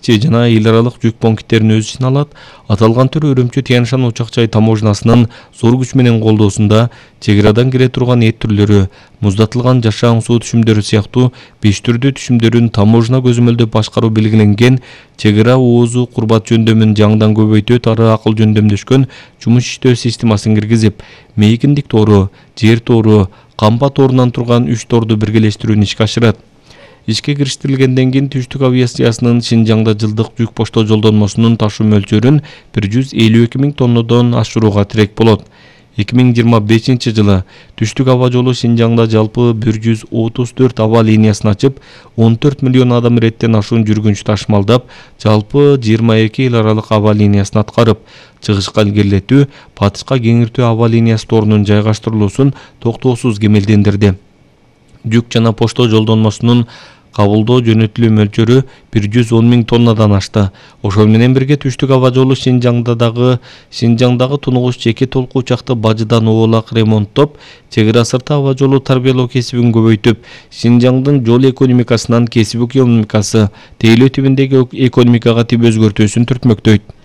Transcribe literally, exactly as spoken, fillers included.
ичи жана эл аралык жүк пункттерин өз ичине алат. Аталган түр Өрөмчү Тянь-Шань Учак-Чай таможнасынын зор күч менен колдоосунда чек арадан кире турган эт түрлөрү, муздатылган жашаан суу түшүмдөрү сыяктуу беш түрдүү түшүмдөрүн таможна көзөмөлдөп башкаруу белгиленген чек ара оозу курбат жөндөмүн жаңыдан көбөйтүү ары акыл жөндөмдөшкөн жумуш иштөө системасын киргизип, мейкиндик тоору, жер тоору, камба тоорунан турган үч тоорду биргелештирүүнү ишке ашырат. Ишке кириштирилгенден кийин түштүк авиациясынын Шинжаңда жылдык жүк почта жолдонмосунун ташуу мөлчөрүн бир жүз элүү эки миң тоннодон ашырууга тирек болот. эки миң жыйырма бешинчи жылы түштүк аба жолу Шинжаңда жалпы бир жүз отуз төрт аба линиясын ачып, он төрт миллион адам иреттен ашуун жүргүнчү ташымалдап, жалпы жыйырма эки эл аралык аба линиясын аткарып, чыгышка илгерилетүү, батышка кеңиртүү аба линиясы тоорунун жайгаштырылуусун токтоосуз кемелдендирди. Жүк жана почта жолдонмосунун кабылдоо жөнөтүлүү мөлчөрү бир жүз он миң тоннадан ашты. Ошол менен бирге түштүк аба жолу Шинжаңдагы Шинжаңдагы тунугуш жеке толку учакты бажыдан оолак ремонттоп, чек ара сырты аба жолу тарбиялоо кесибин көбөйтүп, Шинжаңдын жол экономикасынан кесип экономикасы, тейлөө тибиндеги экономикага тип өзгөртүүсүн түртмөктөйт.